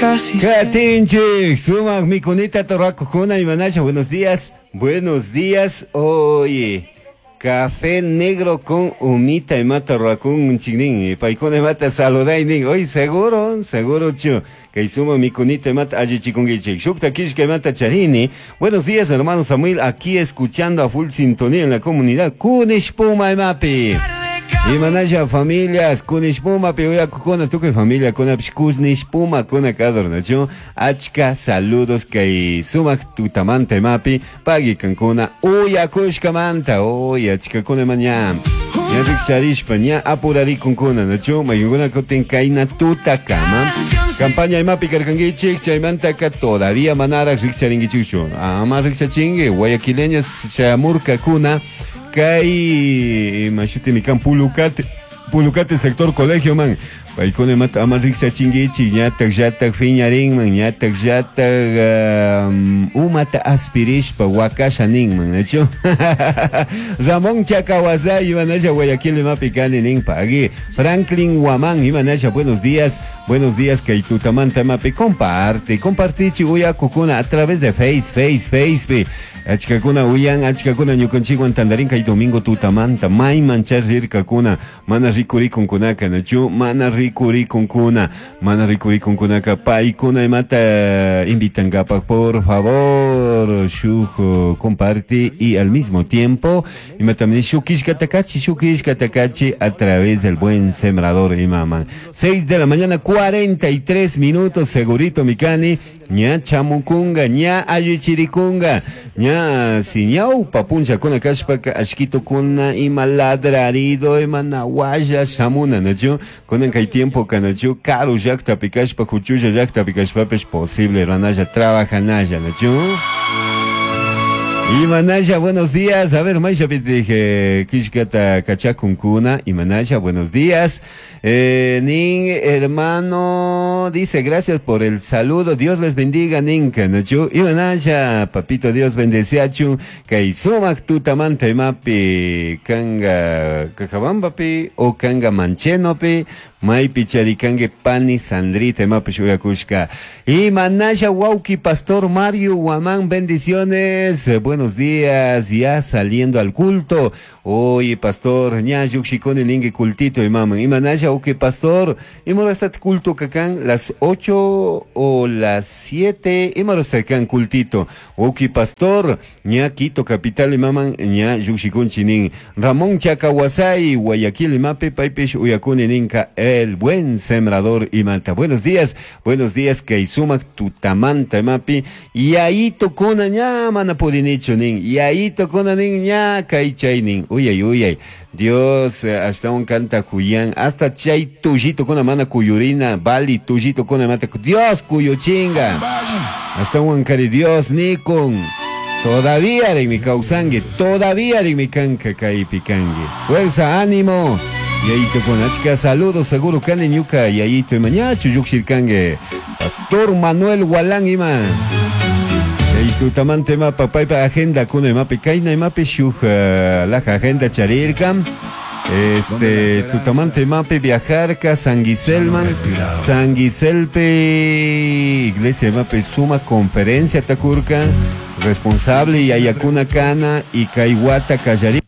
Katinchik, sumak mikunita torrakukuna imanasha, buenos días, buenos días, oye, café negro con humita imata ruakun chiknin, paykuna imata saludaynin, hoy seguro, seguro chu, kay sumak mikunita imata allichikunkichik, shukta kishka imata charini, buenos días hermano Samuel, aquí escuchando a full sintonía en la comunidad Kunishpuma imapi. Imanasha familias, Kunishpuma piuyakukuna, tukuy familia kunapish Kunishpuma kuna kadornachu, achka saludos kay sumak tutamanta imapi, pagui kankuna uyakushkamanta, uy achkakuna ima ña, ña rikcharishpa, ña apurarikunkuna, nachu, mayunkuna kutin kayna tutakama, campaña imapi karkankichik, chaymantaka todavía manaraj rikcharinkichikchu, ama rikchachinki, guayaquileñas chamurkakuna, kay imashutimi kan Pulucate, Pulucate sector colegio man, paykuna imata ama rikchachinkichik, ñatak llatak fiñarinman, ñatak llatak umata aspirishpa wakasha ninman, nachu? Ramón Chacawasay, imanasha Guayaquil imapi kani nin pagui. Franklin Guamán, imanasha, buenos días, buenos días, kay tutamanta imapi, comparte, compartichi uyakukuna a través de Face, Face, Face, achkakuna uyan, achkakuna ñukanchikwan tandarin kay domingo tutamanta, mayman rirkakuna, mana rikurikunkunaka, nachu, mana rikurikunkuna, mana rikurikunkunaka, paykuna imata invitankapak, por favor, shuk comparte y al mismo tiempo, imata shukishkatakachi, shukishkatakachi a través del buen sembrador imaman. 6 de la mañana, 43 minutos, segurito mikani, ña chamukunga, ña allichirikunga, ña siñaupa puncha kuna kashpaka ashkito kuna ima ladrarido ima nawalla shamuna, nachu, kunan kay tiempo kanachu, karu llaktapi kashpa, kuchulla llaktapi kashpapish posible ranalla trabajanalla, nachu. Imanaya, buenos días. A ver, Maisha, dije, Kishkata Kachakunkuna. Imanaya, buenos días. Nin, hermano, dice, gracias por el saludo. Dios les bendiga, Ninka, nachu. Imanaya, papito, Dios bendeciachu. Kay sumak tutamanta imapi, kanga kajabambapi, o kanga manchenopi, maypi charikangue pani sandrita imapi shuyakushka. Imanaya, wauki, pastor Mario Guamán, bendiciones. Buenos días, ya saliendo al culto. Oye, pastor, ña yuxikoni ningue cultito imaman. Imanaya, ok, pastor, imorastat culto kakan las 8 o las 7, imorastat cultito. Ok, pastor, ña Quito capital imaman, ña yuxikun chinin. Ramón Chacahuasay, Guayaquil imape, paipish uyakuni ninka, el buen sembrador imanta. Buenos días, kay sumak tutamanta imapi, y ahí tocona ña manapudinicho nin, y ahí tocona nin ña kay chay nin. Uyay, uyay. Dios, hasta un canta cuyán, hasta chay tuyito con la mana cuyurina, bali tuyito con la mata, Dios cuyo chinga. Hasta un cari Dios ni con. Todavía en mi causangue, todavía en mi canca kai picangue. Fuerza, ánimo. Yayito con achka, saludos, seguro kane ñuka, yayito y mañacho yuxirkangue. Pastor Manuel Gualán ima. Tutamante mapa paipa agenda kuna imapi kayna imapi shuk laja agenda charirka. Este tutamante imapi viajarka Sanguiselman, Sanguiselpe iglesia imapi suma conferencia takurka responsable y ayakuna kana y kaiwata kallarinka.